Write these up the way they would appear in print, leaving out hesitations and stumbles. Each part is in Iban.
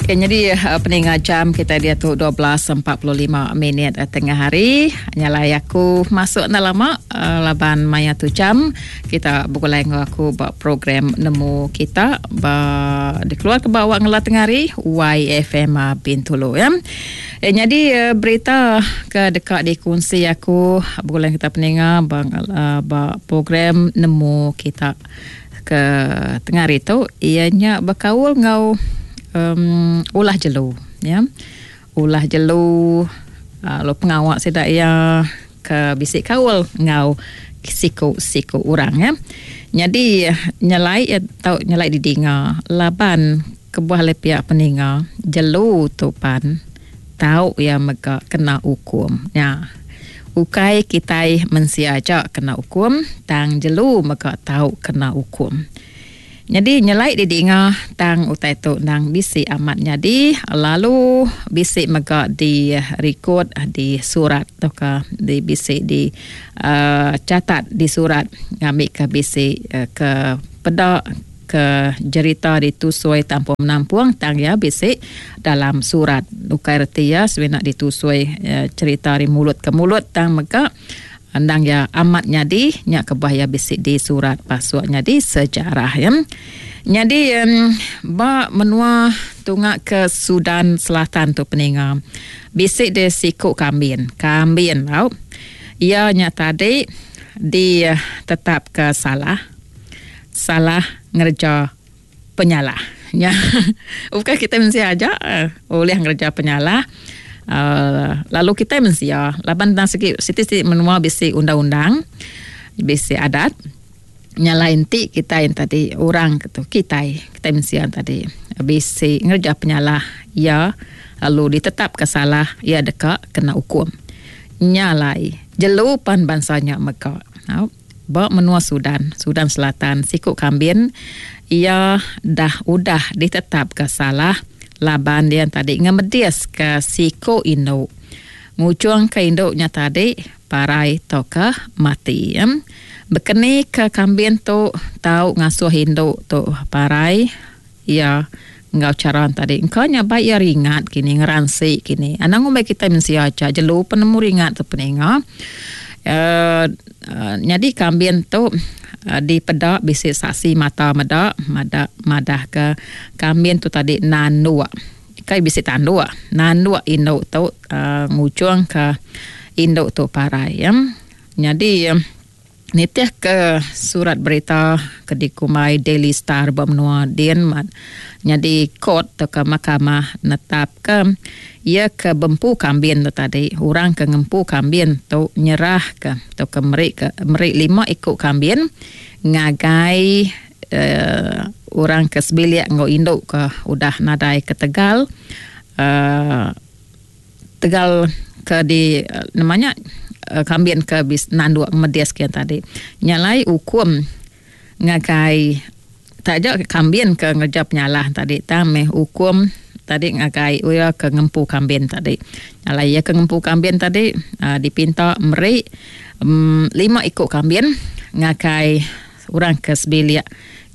Okay, nyadi eh, peninga jam kita diatu 12.45 minit eh, tengah hari. Nyalai aku masuk enda lama eh, laban maya tu jam kita begulai enggau aku ba program nemu kita ba dikeluar ke ba awak ngela tengah hari YFM Bintulu ya. Eh, nyadi eh, berita ke deka dikunsi aku begulai kita peninga ba, eh, ba program nemu kita ke tengah hari tu iya nya bekaul enggau um, ulah jelu ya. Ulah jelu uh, lalu pengawa sida iya ke bisi kaul enggau siku-siku orang ya. Nyadi nyelai iya tau nyelai didinga laban kebuah le pia peninga jelu tu pan tau iya mega kena ukum nya. Ukai kitai mensia aja kena ukum tang jelu mega tau kena ukum. Nyadi nyelai didinga tang utai tu endang bisi amat nyadi lalu bisi mega di rikod di surat tauka di bisi di uhh catat di surat ngambika bisi ke peda ke jerita ditusui tampung menampung tang iya bisi dalam surat. Ukai reti iya semina ditusui cherita ari mulut ke mulut tang mega endang iya amat nyadi nya kebuah iya bisi di surat pasuk nyadi sejarah iya. Nyadi ba menua tunga ke Sudan Selatan tu peninga bisi deh siku kambin. Kambin tau. Iya nya tadi ditetapka salah. Salah ngereja penyalah. Nya ukai kitai mensia aja ulih ngereja penyalah uhh lalu kitai mensia laban tang sigi siti siti menua bisi undang undang bisi adat nya alai enti kitai tadi orang ke tu kitai kitai mensia tadi bisi ngereja penyalah iya lalu ditetapka salah iya deka kena ukum. Nya alai jelu pan bansa nya mega. Ba menua Sudan, Sudan Selatan, siku kambin iya dah udah ditetapka salah laban iya tadi ngemediska siku indu ngujungka indu nya tadi parai tauka mati. Bekeni ke kambin tu tau ngasuh indu tu parai iya enggau chara tadi engka nya bai iya ringat kini ngeransi kini anang ngumbai kitai mensia aja jelu pun nemu ringat tu peninga uhh nyadi kambin tu dipeda bisi saksi mata meda mada madah ke kambin tu tadi nanduk kai bisi tanduk nanduk indu tu uhh ngujung ka indu tu parai. Nyadi. Nitihka surat berita ke dikumbai Daily Star ba menua din nyadi kot tauka mahkamah netapka iya ke bempu kambin tu tadi orang ke ngempu kambin tu nyerahka tauka meri ke meri lima iku kambin ngagai uhh orang ke sebilik enggau indu ke udah nadai ketegal uhh Tegal ke di nama nya kambin ke bis nanduk ngemedis ke tadi. Nya alai ukum ngagai taja kambin ke ngereja penyalah tadi tang meh ukum tadi ngagai iya ke ngempu kambin tadi. Nya alai iya ke ngempu kambin tadi uhh dipinta meri uhh lima iku kambin ngagai orang ke sebilik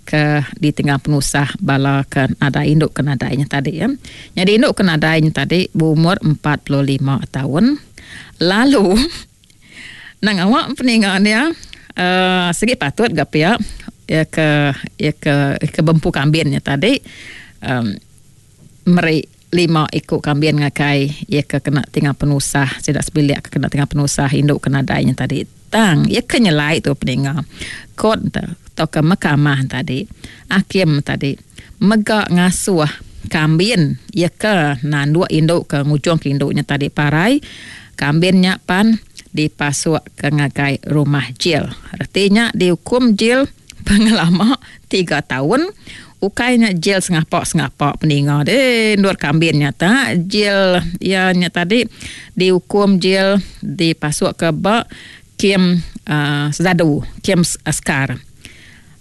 ke ditengah penusah bala ke nadai indu ke nadai nya tadi ya. Nyadi indu ke nadai nya tadi beumur 45 taun. Lalu nang awak peninga dia uhh sigi patut ga pia iya ke iya ke ke bempu kambin nya tadi uhh meri lima iku kambin ngagai iya ke kena tinggal penusah sida sebilik ke kena tinggal penusah indu ke nadai nya tadi. Tang iya ke nyelai tu peninga court tauka mahkamah tadi hakim tadi mega ngasuh kambin iya ke nanduk indu ke ngujung ke indu nya tadi parai kambin nya pan dipasuk ke ngagai rumah jil. Reti nya diukum jil pengelama tiga taun. Ukai nya jil sengapa-sengapa peninga deh endur kambin nya ta jil iya nya tadi diukum jil dipasuk ke ba kem uhh sezadu kem askar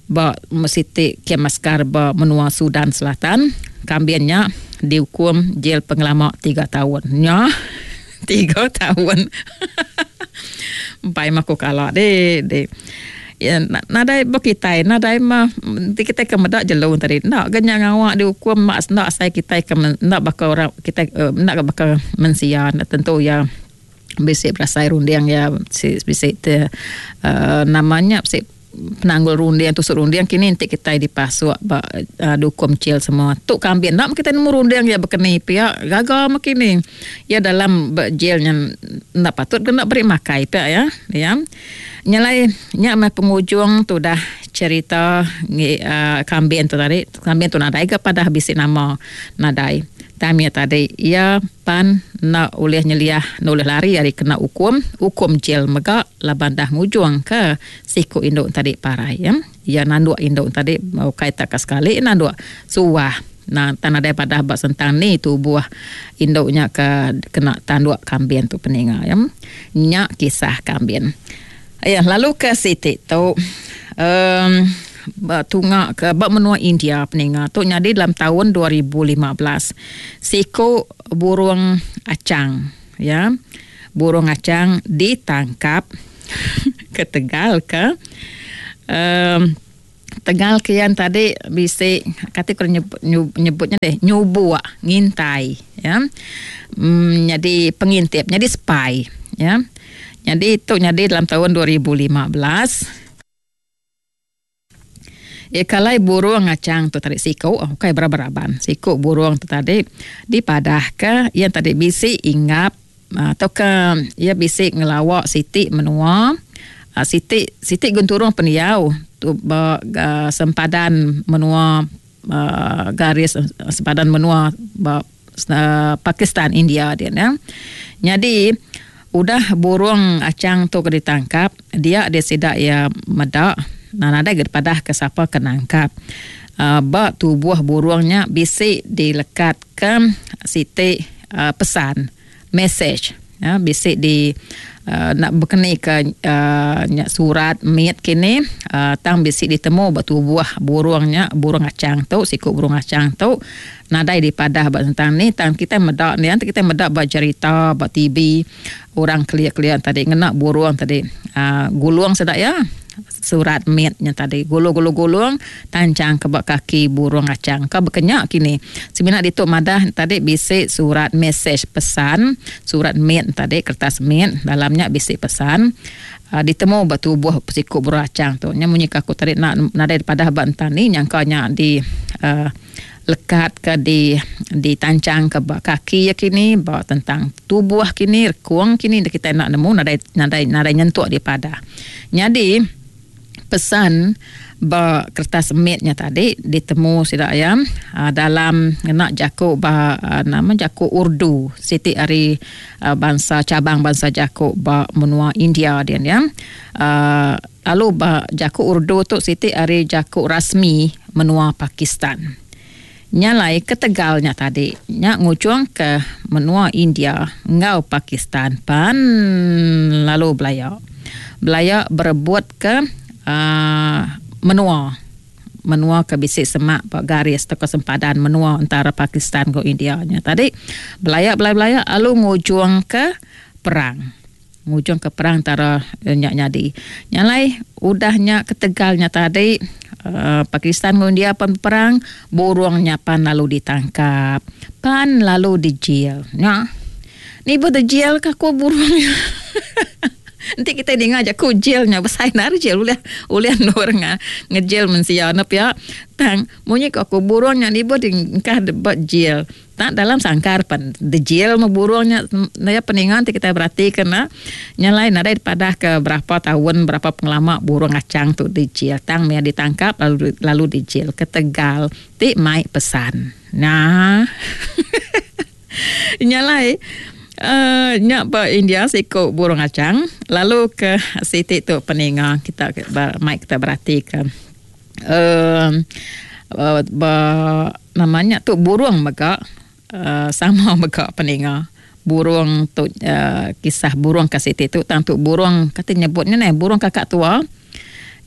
ba siti kem askar ba menua Sudan Selatan kambin nya diukum jil pengelama tiga taun nya tiga taun empai meh ku kala deh deh. Ya nadai ba kitai nadai mah enti kitai ke meda jelu tadi enda ga nya ngawa diukum mak enda asai kitai ke enda baka orang kitai enda ga baka mensia enda tentu iya bisi berasai runding iya bisi te uhh nama nya bisi penanggul runding tusut runding kini enti kitai dipasuk ba uhh diukum jail semua. Tu kambin enda meh kitai nemu runding iya baka ni pia gaga meh kini iya dalam ba jail nya enda patut ke enda beri makai pia iya. Iya. Nya alai nya meh pengujung tudah cherita ngi uhh kambin tu tadi. Kambin tu nadai ga padah bisi nama nadai. Tang mih tadi iya pan enda ulih nyeliah enda ulih lari ari kena ukum, ukum jail mega laban dah ngujung ke Siku indu tadi parai ya. Iya nanduk indu tadi ukai tak ka sekali nanduk suah. Nah tang nadai padah ba sentang ni tubuh indu nya ke kena tanduk kambin tu peninga ya. Nya kisah kambin. Ya lalu ke siti tu um ba tunga ke ba menua India peninga tu nyadi dalam taun 2015. Siku burung achang ya. Burung achang ditangkap ketegal ke um tegal ke iya tadi bisi kati ku nyebut nya deh nyubuk ngintai ya um nyadi pengintip nyadi spy ya. Nyadi tu nyadi dalam taun 2015. Iya kalai burung ngachang tu tadi siku ukai beraban-raban. Siku burung tu tadi dipadahka iya tadi bisi inggap tauka iya bisi ngelawa siti menua siti siti genturung pendiau tu ba sempadan menua garis sempadan menua ba Pakistan India dia ne. Nyadi udah burung achang tu ke ditangkap dia dia sida iya meda nadai ga dipadah ke sapa ke nangkap uhh ba tubuh burung nya bisi dilekat ke siti uhh pesan message uhh bisi di uhh nak bekeni ke uhh nya surat mit kini uhh tang bisi ditemu ba tubuh burung nya burung achang tu siku burung achang tu. Nadai dipadah ba tentang ni tang kitai meda ni enti kitai meda ba jerita ba TV orang kelia-kelia tadi ngena burung tadi uhh gulung sida iya surat mit nya tadi gulung gulung gulung tanchang ke ba kaki burung achang ka baka nya kini. Semina ditu madah tadi bisi surat mesej pesan surat mit tadi kertas mit dalam nya bisi pesan uhh ditemu ba tubuh siku burung achang tu. Nya munyi ka aku tadi nadai dipadah ba entang ni nyangka nya di uhh Lekat ke di ditanchang ke ba kaki iya kini ba tentang tubuh kini rekung kini enda kitai enda nemu nadai nadai nadai nyentuk dipadah. Nyadi pesan ba kertas mit nya tadi ditemu sida iya uhh dalam ngena jaku ba nama jaku Urdu siti ari bansa cabang bansa jaku ba menua India din iya uhh lalu ba jaku Urdu tu siti ari jaku rasmi menua Pakistan. Nya alai ketegal nya tadi, nya ngujungka menua India enggau Pakistan pan lalu belaya. Belaya berebutka uhh menua. Menua ke bisi semak ba garis tauka sempadan menua entara Pakistan enggau India nya tadi. Belaya belaya belaya lalu ngujungka perang. Ngujungka perang entara nya nyadi. Nya alai udah nya ketegal nya tadi uhh Pakistan enggau India pan beperang, burung nya pan lalu ditangkap, pan lalu dijil. Nya nibuh dijil ka ku burung nya. Enti kitai ninga jaku jil nya besai endar jil ulih ulih endur ngejil mensia ne pia. Tang munyi ku aku burung nya nibuh diengkah ba jil. Tak dalam sangkar pen dejil meh burung nya nya peninga ti kitai beratika ne nya alai nadai dipadah ke berapa taun berapa pengelama burung achang tu dijil tang mih ditangkap lalu lalu dijil ketegal ti mai pesan. Nah. Nya alai uhh nya ba India siku burung achang lalu ke siti tu peninga kita mai kita beratika. Uhh ba nama nya tu burung mega uhh sama mega peninga burung tu uhh kisah burung ka siti tu tang tu burung kati nyebut nya neh burung kakak tua.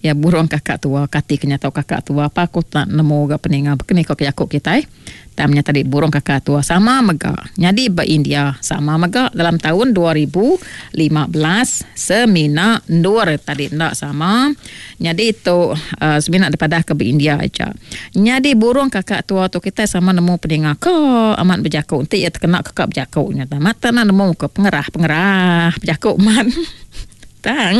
Ya burung kakak tua kati ke nyatau kakak tua apa aku tak nemu ga peninga baka ni ko jaku kitai. Tang nya tadi burung kakak tua sama mega nyadi ba India sama mega dalam taun 2015 semina endur tadi enda sama nyadi tu uhh semina dipadah ke ba India aja. Nyadi burung kakak tua tu kitai sama nemu peninga ka amat bejaku enti iya tekena ka ka bejaku nya amat te nemu ke pengerah pengerah bejaku amat tang.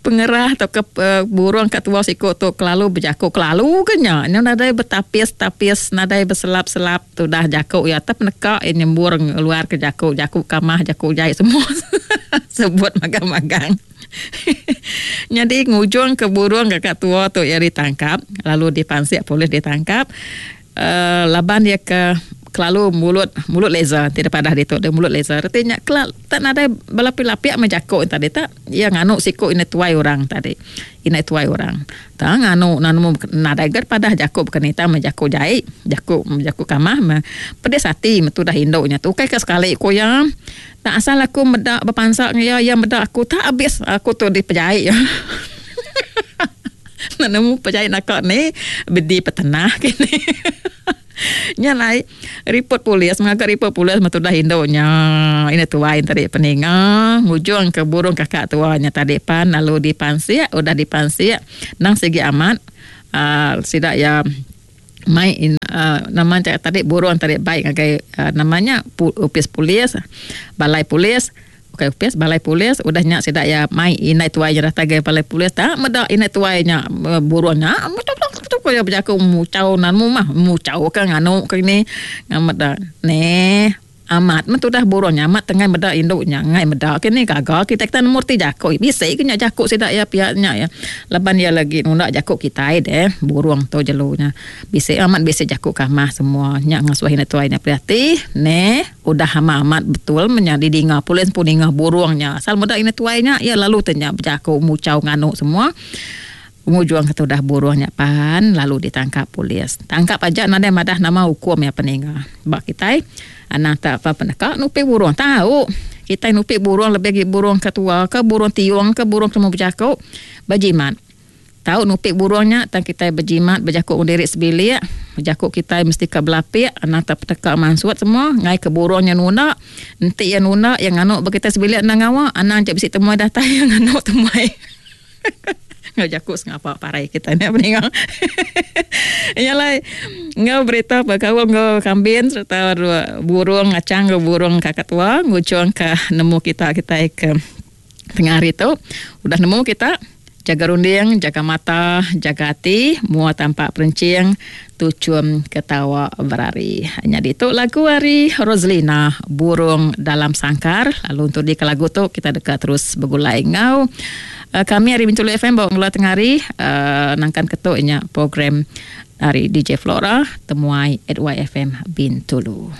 Pengerah tauka burung ka tua siku tu kelalu bejaku kelalu ke nya. Nyau nadai betapis-tapis nadai beselap-selap tudah jaku iya tep neka iya nyembur ngeluar ke jaku jaku kamah jaku jai semua sebut magang-magang. Nyadi ngujung ke burung ka tua tu iya ditangkap lalu dipansik polis ditangkap. Uhh laban iya ke kelalu mulut mulut laser ti dipadah ditu deh mulut laser reti nya kela tak nadai belapik-lapik meh jaku ne tadi tak iya nganu siku indai tuai orang tadi indai tuai orang tang nganu nemu nadai ga padah jaku baka ni tang meh jaku jai jaku jaku kamah meh pedis ati meh tudah indu nya tu ukai ka sekali ku iya tak asal aku meda bepansa ngan iya iya meda aku tak abis aku tu dipejai iya. Nemu pejai naka ni bedi petenah kini. Nya alai ripot polis ngaga ripot polis meh tudah indu nya ina tuai tadi peninga ngujung ke burung kakak tua nya tadi pan lalu dipansik udah dipansik nang sigi amat uhh sida iya mai uhh nama tadi burung tadi bai ngagai nama nya opis polis balai polis. Ukai opis balai polis udah nya sida iya mai indai tuai nya datai ngagai balai polis tak meda indai tuai nya burung nya ko iya bejaku muchau nemu mah muchau ka nganu ke ini meda neh amat meh tudah burung nya amat tengai meda indu nya ngai meda ke ni gaga kitai kita nemu reti jaku bisi ke nya jaku sida iya pia nya iya laban iya lagi nunda jaku kitai deh burung tu jelu nya bisi amat bisi jaku kamah semua nya ngasuh indai tuai nya perhati neh. Udah amat amat betul meh nya didinga polis empu ninga burung nya asal meda ina tuai nya iya lalu te nya bejaku muchau nganu semua pengujung ke tudah burung nya pan lalu ditangkap polis. Tangkap aja nadai madah nama ukum iya peninga ba kitai anang te apa peneka nupi burung tau kitai nupi burung lebih agi burung ke tua ke burung tiung ke burung ke nemu bejaku bejimat. Tau nupi burung nya tang kitai bejimat bejaku enggau diri sebilik. Jaku kitai mesti ka belapik anang tak peteka mansut semua enggai ke burung nya nunda. Enti iya nunda iya nganu ba kitai sebilik enda ngawa anang aja bisi temuai datai iya nganu temuai. Enggau jaku sengapa parai kitai nya peninga. Nya alai enggau berita bekaul enggau kambin sereta burung ngachang enggau burung kakatua ngujungka nemu kita kitai ke Tengah hari tu, udah nemu kita, jaga runding, jaga mata, jaga ati, mua tampak perenching, tuchum ketawa berari. Nyadi tu lagu ari Roselina, Burung Dalam Sangkar. Lalu untuk di ke lagu tu kita deka terus begulai enggau kami ari Bintulu FM ba ngela tengah hari nangkan ke tu nya program ari DJ Flora Temuai at YFM Bintulu.